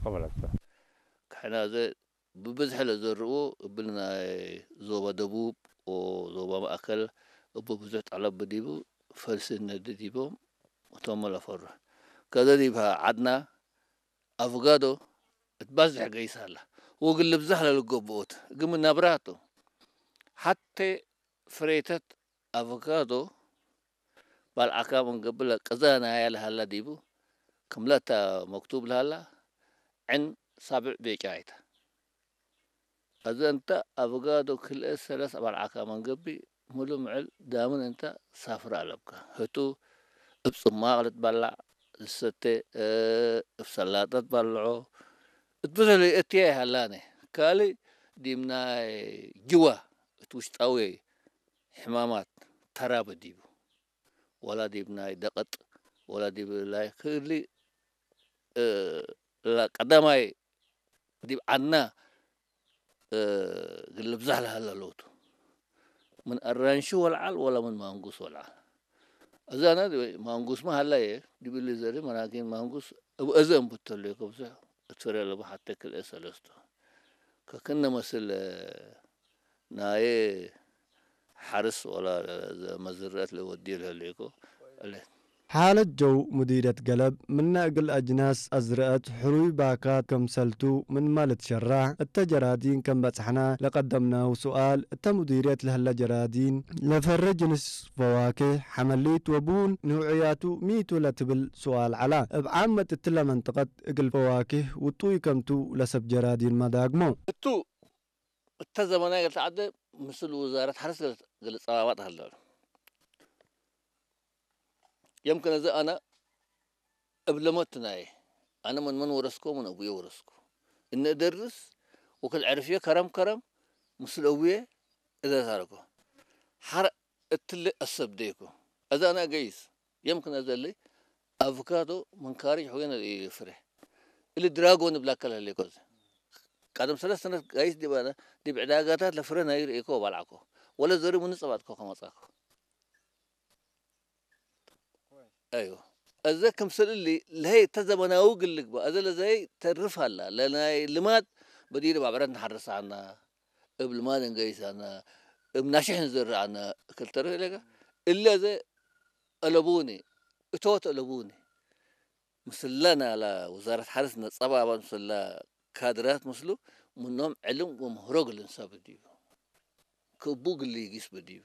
ከመለስተ። ክሕና ዘ ብብዝሒ ለዘርኡ እብል ናይ ዞባ ደቡብ፣ ዞባ ማእከል እብ ብዙሕ ጠለብ ብዲቡ ፈልሲ ነዲ ዲቦም እቶም ለፈሩ። ከዘ ዲብ ዓድና ኣቮጋዶ እትባዝሕ ገይሳ ኣላ። ወግል ልብዛሕ ለልገብኦት ግም ናብራቱ ሓቴ ፍሬተት ኣቮጋዶ ባልዓካ መንገብለ ቅዛ ናያ ለሃላ ዲቡ ክምለታ መክቱብ ለሃላ ዕን ሳብዕ ቤጫ ኣይታ። እዚ እንተ ኣቮጋዶ ክልኤ ሰለስ ባልዓካ መንገቢ ሙሉ ምዕል ዳምን እንተ ሳፍራ ኣለብካ። ህቱ እብ ጽማቕ ልትባላዕ፣ ልሰቴ፣ እ፣ እብ ሰላጠ ትባልዖ፣ እት ብዙሕ ለይእትያ ይሃላነ። ካልእ ዲብ ናይ ጅዋ እት ውሽጣዊ ሕማማት ተራበ ዲቡ። ወላ ዲብ ናይ ደቐጥ፣ ወላ ዲብ ላይ ክሊ፣ እ፣ ላ ቀዳማይ ዲብ ዓድና፣ እ፣ ግልብዛሕ ለሃላ ለውቱ። ምን ኣራንሺ ወልዓል ወላ ምን ማንጉስ ወልዓል። እዛና ማንጉስ ማ ሃላየ ዲብ እሊ ዘሪ መናኪን ማንጉስ እብ እዘ እንብተሉ ከብዙሕ እትፍረ ለቡ ሓተ ክልኤ ሰለስቱ። ከክነ መስል ናየ ሓርስ ወላ መዝርዕት ለወዲ ለህልኮ። እለ ሓለት ጀው ሙዲርየት ገለብ፣ ምነ እግል አጅናስ አዝርአት፣ ሕሩይ ባካት ከምሰልቱ ምንመ ልትሸራሕ እተ ጀራዲን ከም በጽሕነ ለቀደምነው ሱኣል፣ እተ ሙዲርየት ለህለ ጀራዲን ለፈረ ጅንስ ፈዋክህ፣ ሐመሊት ወቡን ንውዕያቱ ሚቱ ለትብል ሱኣል ዐላ። እብ ዓመት እትለ መንጠቀት እግል ፈዋክህ ውጡይ ከምቱ ለሰብ ጀራዲን መዳግሞ። እቱ እተ ዘመናይ እግል ተዐደ ምስል ውዛረት ሐርስ እግል ጸባባጥ ሀለ። የምክን እዚ አነ እብ ለመቱ ናየ፣ አነ ምን ምን ወረስኮ ምን አቡየ ወረስኮ። እነ እደርስ ወክል ዐርፍየ ከረም ከረም ምስል አቡየ እደርስ አለኮ። ሐረ እትለ አሰብደይኮ። እዚ አነ ገይስ የምክን እዚ እሊ አቮካዶ ምን ካርጅ ሑየነ ፍሬ። እሊ ድራጎን እብላከ ለህሌኮ እዚ። ቀደም ሰለስተ ሰነት ጋይስ ዲብ አነ ዲብ ዕዳጋታት ለፍሬ ናይ ርእኮ ባልዓኮ። ወለ ዘሪ ምን ጸባጥኮ ከመጻኮ። አይወ። እዘ ክምስል እሊ ለሀይ እተ ዘመናዊ ግል ልግባእ፣ እዘ ለዘይ ተርፍ አላ፣ ለናይ ልማድ በዲር ባብረት ንሓርስ አና፣ እብ ልማድ እንገይስ አና፣ እብ ናሽሕ ንዘርእ አና፣ እክል ተርፍ ኢለከ፣ እለ እዘ አለቡኒ፣ እቶት አለቡኒ፣ ምስለ ናላ ውዛረት ሓርስ ነጸባባ ምስለ ካድራት ምስሉ፣ ምኖም ዕልም ወምህሮ ግልን ሰብ ዲቡ። ክቡ ግሊ ይጊስ ብዲቡ።